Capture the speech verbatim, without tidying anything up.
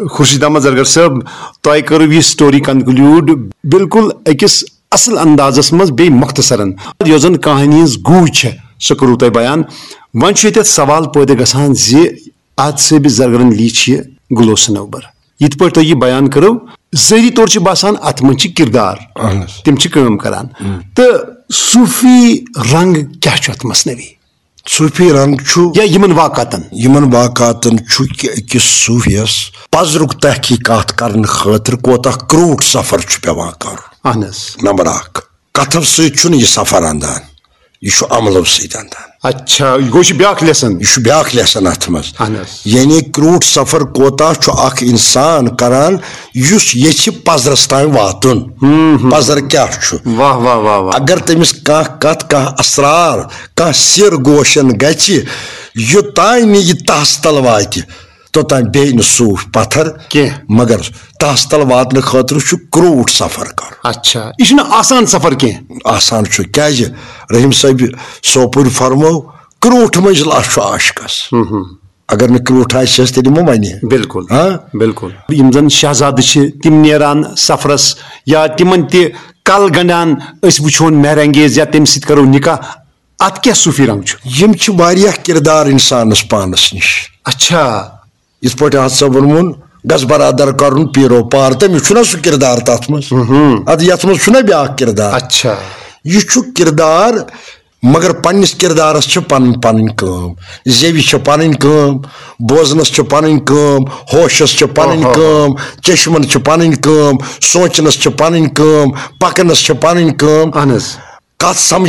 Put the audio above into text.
خورشید احمد زرگر صٲب، تۄہہِ کٔرٕو یہِ story conclude بالکل أکِس اصل اندازس منٛز، بیٚیہِ مختصرن۔ یۄس زن کہانی ہٕنٛز گوٗج چھےٚ، سۄ کٔرٕو تۄہہِ بیان۔ وۄنۍ چھُ ییٚتٮ۪تھ سوال پٲدٕ گژھان زِ آدِ صٲبِ زرگرن علی چھِ گُلو صنوبر۔ یِتھ پٲٹھۍ تۄہہِ یہِ بیان کٔرٕو، ظٲہری طور چھِ باسان اتھ منٛز چھِ کردار، اہن حظ۔ تِم چھِ کٲم کران۔ تہٕ صوٗفی رنگ کیٛاہ چھُ اتھ مثنوی؟ صوٗفی رنگ چھُ یا یِمن واقعاتن؟ یِمن واقعاتن چھُ کہِ أکِس صوٗفیَس پزرُک تحقیقات کرنہٕ خٲطرٕ کوتاہ کرٛوٗٹھ سفر چھُ پٮ۪وان کرُن۔ اہن حظ۔ نمبر اکھ، کتھو سۭتۍ چھُنہٕ یہِ سفر اندان، یہِ چھُ عملو سۭتۍ اندان۔ اچھا، یہِ گوٚو، یہِ چھُ بیٛاکھ lesson۔ یہِ چھُ بیٛاکھ lesson اتھ منٛز۔ اہن حظ۔ یعنی کرٛوٗٹھ سفر کوتاہ چھُ اکھ انسان کران یُس یژھِ پزرس تام واتُن۔ پزر کیٛاہ چھُ؟ واہ، واہ، واہ، واہ۔ اگر تٔمِس کانٛہہ کتھ، کانٛہہ اسرار، کانٛہہ سِر گوشن گژھِ، یوٚتام نہٕ یہِ تہس تل واتہِ، توٚتام بیٚہہِ نہٕ صوٗفۍ پتھر کینٛہہ۔ مگر تہس تل واتنہٕ خٲطرٕ چھُ کرٛوٗٹھ سفر کرُن۔ اچھا، یہِ چھُنہٕ آسان سفر کینٛہہ۔ آسان چھُ، کیٛازِ؟ رحیم صٲبِ سوپورِ فرموو، کرٛوٗٹھ مٔنٛزۍ لَش چھُ عاشقس۔ اگر نہٕ کرٛوٗٹھ آسہِ، تیٚلہِ مہ وَنہِ۔ بالکل۔ ہاں؟ بالکل۔ یِم زن شہزادٕ چھِ، تِم نیران سفرس یا تِمن تہِ کل گنڈان، أسۍ وٕچھون مہر انگیز یا تٔمِس سۭتۍ کرو نکاح، اتھ کیٛاہ صوٗفی رنگ چھُ؟ یِم چھِ واریاہ کردار انسانس پانس نِش۔ اچھا۔ یِتھ پٲٹھۍ اتھ ژےٚ ووٚنمُن، گژھ برادر کرُن پیٖرو پار، تٔمِس چھُنہ سُہ کردار تتھ منٛز؟ ادٕ یتھ منٛز چھُنہ بیٛاکھ کردار؟ اچھا۔ یہِ چھُ کردار، مگر پننِس کردارس چھِ پنٕنۍ پنٕنۍ کٲم۔ زیوِ چھِ پنٕنۍ کٲم، بوزنس چھِ پنٕنۍ کٲم، ہوشس چھِ پنٕنۍ اوہو۔ کٲم، چشمن چھِ پنٕنۍ کٲم، سونچنس چھِ پنٕنۍ کٲم، پکنس چھِ پنٕنۍ کٲم۔ اہن حظ۔ کتھ سمجھ